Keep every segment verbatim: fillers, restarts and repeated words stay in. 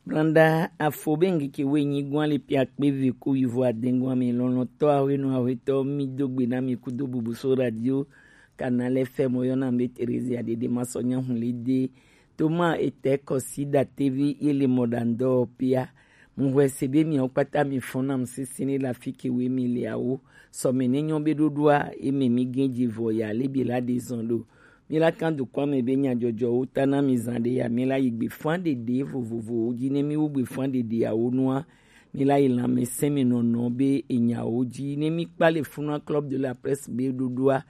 Blanda afo be ŋkeke woenyi gɔn le piakpe ve ku yivo adengɔn ame lɔlɔtɔ ahwenu ahwetɔ mi do gbe na mi kudo bubu so radio Canal F M yɔ na mi be Theresia Dede ma sɔ nya hun le de. Toma etɛ kɔsi da tevi ye le mɔ da ŋdɔ pia. Mu hwɛ se be mi kpata mi fɔn na mu sisi ni la fi ke we mi le awo. Sɔme ne nyɔ be ɖoɖoa eme mi gɛn dzi vɔ ya le bi la de zɔn ɖo. Mi la kan dukɔa me be nyadzɔdzɔwo ta na mi zan ɖe ya mi la yi gbe fan ɖeɖe vovovowo dzi ne mi wo gbe fan ɖeɖeawo nua. Mi la yi lãmesẽ me nɔnɔ be enyawo dzi ne mi kpa le funua Club de la Presse be ɖoɖoa.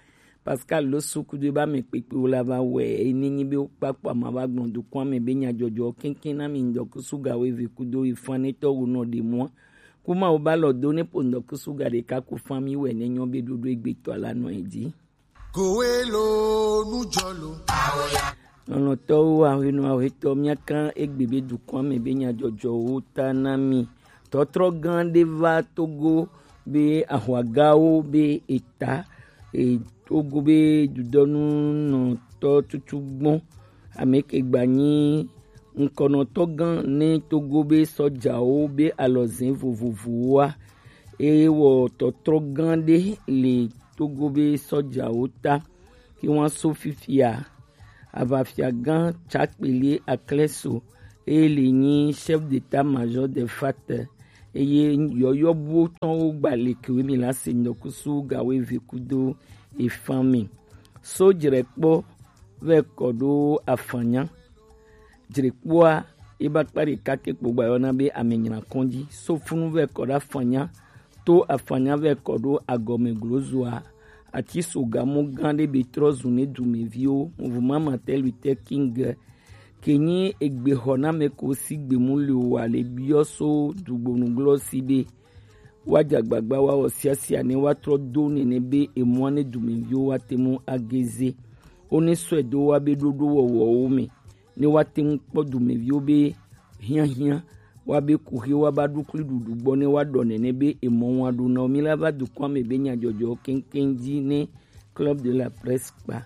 Pascal lo suku do ba me kpekpewo la va wɛ eye ne nyi be wo kpakpa ma va gblɔ dukɔa me be nyadzɔdzɔ keŋkeŋ na mi ŋdɔkusu ga wo eve kudo yi fan ne tɔ wo nɔ ɖe mua. Kuma wo ba lɔ do ne po ŋdɔkusu ga ɖeka ku fan mi wɛ ne nyɔ be ɖoɖo egbetɔ la nɔ edzi. Kowe lo nujɔ lo. Lɔlɔtɔwo ahwenu ahwetɔ miakan egbe be dukɔa me be nyadzɔdzɔwo ta na mi. Tɔtrɔ gã ɖe va Togo be ahwagawo be eta e, Togo be dudɔnu nɔtɔ tutu gbɔn. Ame ke gba nyi ŋkɔnɔtɔ gã ne Togo be sɔjawo be alɔzẽ vovovowoa. Eye wɔ tɔtrɔ gã ɖe le Togo be sɔjawo ta. Ke wan so fifia aʋafiagã Tsakpeli Aklɛso eye le nyi chef d'état-major de fat eye yɔyɔbuwo tɔnwo gba le kewe mi la se ŋdɔkusu gawo eve kudo efan mi. So dzrɛkpɔ vɛ kɔ ɖo afanya. Dzrikpoa eba kpa ɖeka ke kpo gba yɔna be ame nyina kɔn dzi. So funu vɛ kɔ ɖo afanya. To afanya vɛ kɔ ɖo agɔme glozoa. Ati so gamo gã ɖe be trɔ zu ne dumeviwo. Mouvement Martin Luther King ke nyi egbexɔname ko si gbemu le wa le biɔ so dugbonu glɔ si be wa dzagbagba wa wɔ siasia ne wa trɔ do nene be emua ne dumeviwo wa te mu ageze. Wo ne sɔe do wa be ɖoɖo wɔwɔwo me. Ne woate ŋu kpɔ dumeviwo be hiahiã, woabe kuxi woaba ɖukli ɖuɖu gbɔ ne woaɖɔ nene be emɔ ŋu aɖo na wo. Mi la va dukɔa me be nyadzɔdzɔ keŋkeŋ dzi ne Club de la Presse kpa.